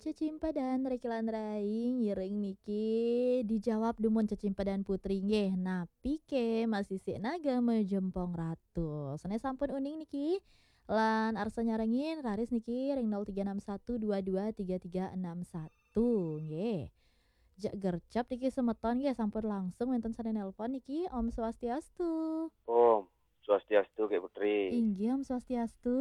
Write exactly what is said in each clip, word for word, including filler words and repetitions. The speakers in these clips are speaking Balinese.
Cecimpedan Riki lan Rai ngiring niki dijawab dumun cecimpedan Putri nggih. Napi ké masisik naga majempong ratu? Sané sampun uning niki lan arsa nyarengin raris niki ring nol tiga enam satu dua dua tiga tiga enam satu nggih. Jak gercep niki semeton nggih sampun langsung wénten sané nelpon niki. Om Swastiastu. Om Swastiastu, Ké Putri. Inggih, Om Swastiastu.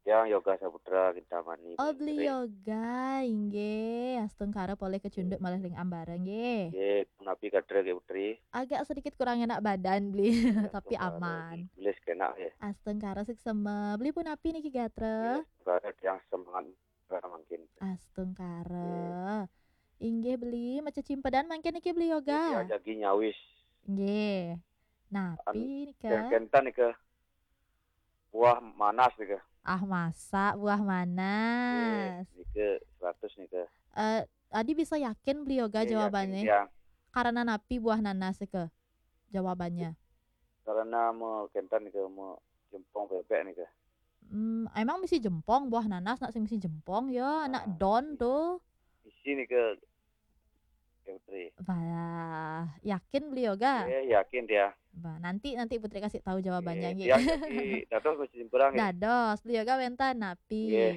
Tiang Yoga Saputra Kintamani. Oh, Beli Yoga, inggih. Astungkara polih kecunduk malih ring ambara, nggih. Nggih, punapi kadra, Ké Putri? Agak sedikit kurang enak badan, Beli. Tapi aman. Tulis kenak ya. Astungkara suksema. Beli punapi niki gatra? Astungkara, tiang semangat mangkin. Astungkara. Inggih, Beli, macecimpedan mangkin niki, Beli Yoga. Nggih, jagi nyawis. Nggih. Napi nika? Kénten nika. Buah manas nika. Ah, masa buah manas? Nggih, nika seratus nika. Eh, adi bisa yakin Beli Yoga jawabannya? Yakin, tiang. Karena napi buah nanas nika jawabannya? Karena mau kénten nika, mau jempong bébék nika. Hmm, emang misi jempong buah nanas, nak sing misi jempong ya, nak don tuh. Misi nika, Ké Putri. Wah, yakin Beli Yoga? Nggih, yakin tiang. Bah, nanti, nanti Putri kasih tahu jawabannya, nggih. Tiang jagi dados mesti simperan, nggih. Dados, Beli Yoga wénten napi? Nggih.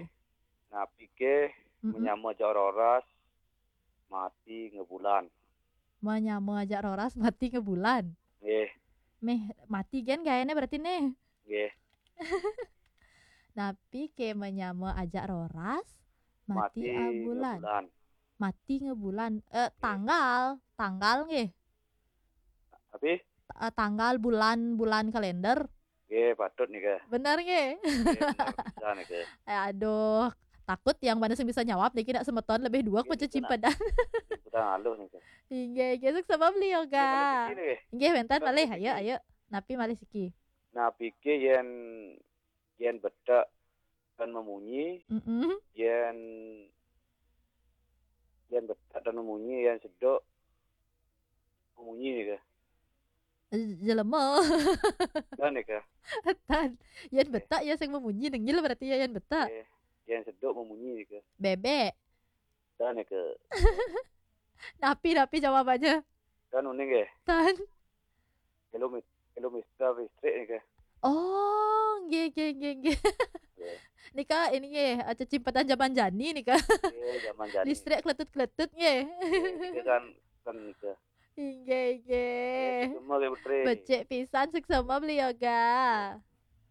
Napi ké manyama ajak roras, mati ngebulan. Manyama ajak roras, mati ngebulan. Nggih. Méh mati gén gaéné berarti nih. Nggih. Napi ké manyama ajak roras, mati abulan. Mati ngebulan. Eh, tanggal, tanggal nggih. Tapi? Eh, tanggal, bulan, bulan kalender. Nggih, patut nika. Bener nggih. Nggih, bener pisan nika. Eh, aduh, takut yang mana sing bisa nyawab niki nak semeton lebih dua. Nggih, macecimpedan. Cecimpedan aluh nika. Inggih, inggih, suksema Beli Yoga. Nggih, malih siki nggih. Nggih, wénten malih, ayo, ayo. Napi malih siki? Napi ké yén, yén betek tan memunyi, mm-mm, yén, yén betek tan memunyi, yén seduk memunyi nika. Jelema. Tan nika. Tan. Yén betek ya sing memunyi, nengil berarti ya yén betek. Eh, yén seduk memunyi nika. Bébék. Tan nika. Napi, napi jawabannya? Tan uning nggih. Tan. Kilometer, kilometer listrik nika. Oh, nggih, nggih, nggih, nggih. Nggih. Nika ini nggih, eh, cecimpedan zaman jani nika. Nggih, zaman jani. Listrik keletut-keletut nggih. Nggih, nika kan, kan nika. Inggih, inggih. Nggih, suksema, Ké Putri. Becik pisan, suksema Beli Yoga.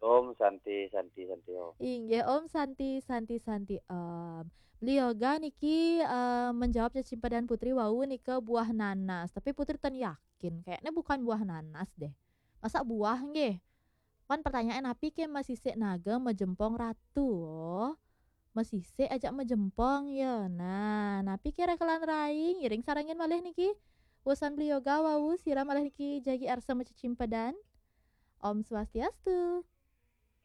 Om Santi, Santi, Santi, Om. Inggih, Om Santi, Santi, Santi, Om. Beli Yoga niki, eh, menjawab cecimpedan Putri wau nika buah nanas. Tapi Putri tan yakin, kayaknya bukan buah nanas deh. Masa buah nggih? Kan pertanyaan napi ké masisik naga majempong ratu? Oh, masisik ajak majempong ya. Nah, napi ké Riki lan Rai ngiring sarengin malih niki? Wusan Beli Yoga wau sira malih niki jagi arsa macecimpedan. Om Swastiastu.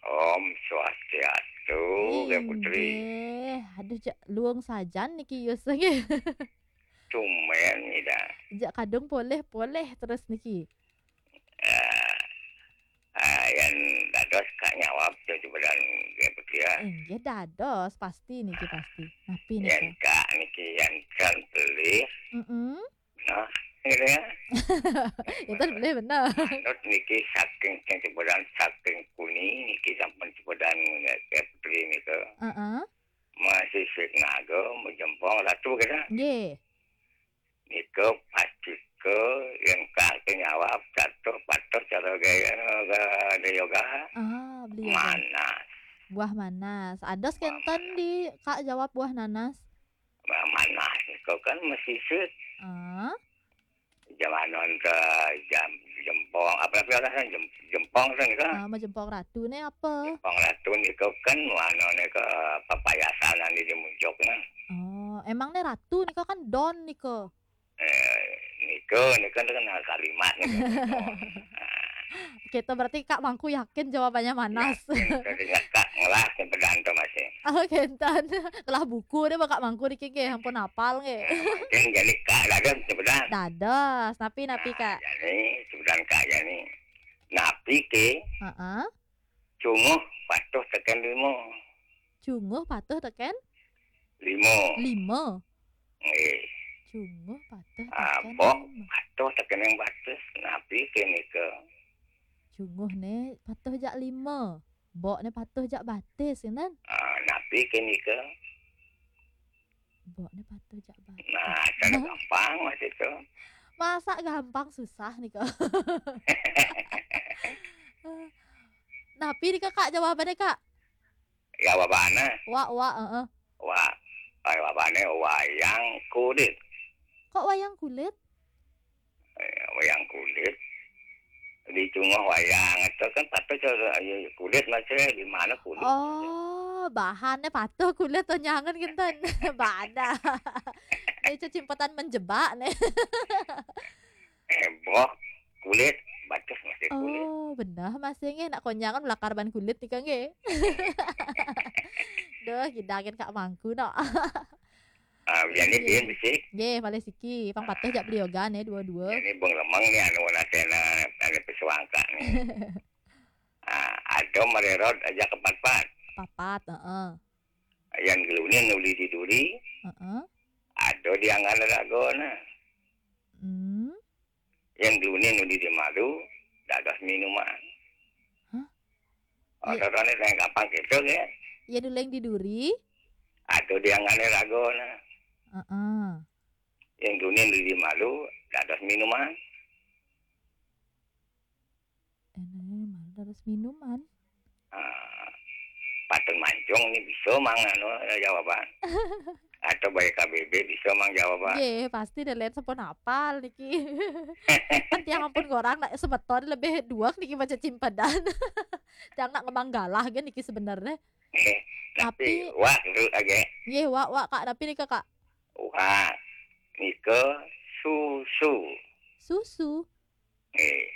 Om Swastiastu, Ké Putri. Inggih. Aduh, jak luung sajan niki yus nggih. Tumben ida. Jak kadung polih-polih terus niki. Eh, eh, yén dados Kak nyawab cecimpedan Ké Putri ya. Inggih dados, pasti niki pasti. Napi nika? Yén Kak niki yén tan pelih. Mm-mm. Nah, gitu ya. Yén tan pelih bener. Manut niki saking cecimpedan saking puni niki sampun cecimpedan Ké Putri nika. Heeh. Masisik naga majempong ratu nika. Nggih. Nika pasti ké yén Kak ké nyawab catuh patuh cara gaya, gaya Yoga. Ah, Beli Yoga. Manas. Buah manas. Ados kénten di Kak jawab buah nanas. Buah manas nika kan masisik. Ah. Jamanon ke jam, jempong, apa, apa, apa, jem-, jempong kan nika. Ah, majempong ratu né apa? Jempong ratu nika kan anu nika papayasan anu di muncuk nah. Oh, emang né ratu nika kan don nika. Eh, nika, nika kan kalimat nika. Kita berarti Kak mangku yakin jawabannya manas. Yakin, tadi Kak ngelah cecimpedan to masih. Oh, kénten. Telah buku deh Kak mangku niki nggih, ampun apal nggih. Nah, mungkin jadi Kak dados cecimpedan. Dados, napi-napi, Kak? Nah, jadi cecimpedan Kak jadi. Napi ké? Heeh. Cunguh patuh tekén lima. Cunguh patuh tekén? Lima. Lima. Nggih. Cunguh patuh Ah, tekan bok lima. Patuh tekening batis. Napi kenika? Cunguh né patuh jak lima. Bok né patuh jak batis, kan? Ah, napi kenika? Bok né patuh jak batis. Nah, cara gampang masih tu. Masa gampang, susah nih kok. Napi nih kak jawabannya kak? Jawabana. Wak wak, heeh. Wah, jawabane wayang kulit. Kok wayang kulit? Eh, wayang kulit. Di cunguh wayang itu kan patuh cara, ya, kulit masih di mana kulit. Oh, bahannya patuh kulit tuh nyangan kinten. Bada. Ini cecimpedan menjebak nih. Eh, bok kulit, batis masih kulit. Oh, benar masih nggih nak konyangan melakar ban kulit nih kang nggih. Duh, gidangan kak mangku no. Ah, jadi Iya. Bian bisi. Nggih, malih siki, pang patuh jak beli yoga nih dua-dua. Ini bung lemeng nih anu natena anu pesuangka nih. Ah, ada marerod aja kepat-pat. Papat, heeh. Yang gelunin uli di duri, Heeh. ada di anggan ragona. Hmm. Yang gelunin uli di malu, dados minuman. Hah? Ada rane yang gampang gitu ya. Ya duleng di duri. Ada di anggan ragona. Heeh. Yang gelunin uli di malu, dados minuman. Enaknya malu harus minuman. Ah, patun mancung ini bisa mang anu jawaban. Atau baik K B B bisa mang jawaban. Nggih, pasti ada lain sampun apal niki. Kan tiang ampun orang nak semeton lebih dua niki maca cimpedan. Tiang nak ngemang galah kan niki sebenarnya. Eh, tapi Tapi- wah dulu aja. Nggih, wak wak kak, tapi nih kak. Wah, nika susu. Susu. Eh.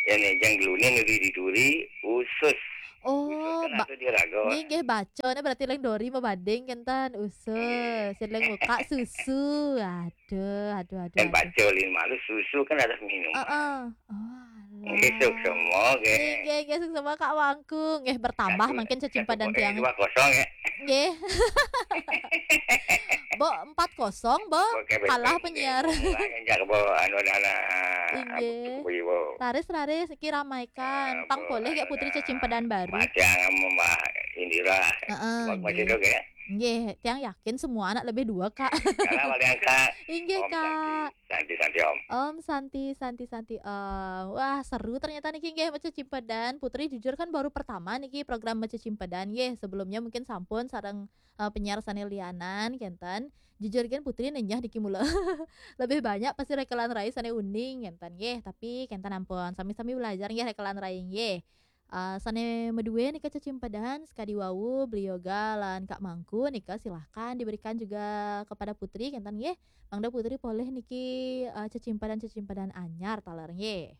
Ini yang gelunin di duri usus. Usus Oh, kan ba- ada di raga. Nggih nggih baca nih berarti leng dori mabading kenten usus. Sing leng muka susu. Aduh, aduh, aduh. Yang aduh. Baca lima lu susu kan ada minum. Heeh. Oh, Nggih, alah. suksma, nggih. Nggih, nggih, nggih, suksma kak wangku. Nggih, bertambah Satu- makin satu cecimpedan kosong, tiang. Dua kosong ya. Nggih. Bo empat kosong, bo. Oke, baik, Kalah baik, penyiar. Baik. Enggak bo anu dana. Inggih. Abuk, abuk, abuk. Raris, raris, iki ramaikan. Ah, Pang bo, boleh gak anu Putri dah. cecimpedan baru? Macam Mbak Indira. Heeh, Mbak masih nggih. dok ya. Nggih, tiang yakin semua anak lebih dua kak. Kalau paling angka. Inggih Om kak. Santi, Santi, Santi Om. Om Santi, Santi, Santi Om. Wah, seru ternyata niki nggih maca cimpedan. Putri jujur kan baru pertama niki program maca cimpedan nggih. Sebelumnya mungkin sampun sareng eh, penyiar sane lianan kenten. Jujur kan Putri nenyah niki mula. Lebih banyak pasti rekelan rai sane uning kenten nggih. Tapi kenten ampun sami-sami belajar nggih rekelan rai nggih. Eh, sane medue nika cecimpedan sekadi wau beli yoga lan Kak Mangku nika silahkan diberikan juga kepada Putri kenten nggih. Mangda Putri polih niki eh, cecimpedan-cecimpedan anyar taler nggih.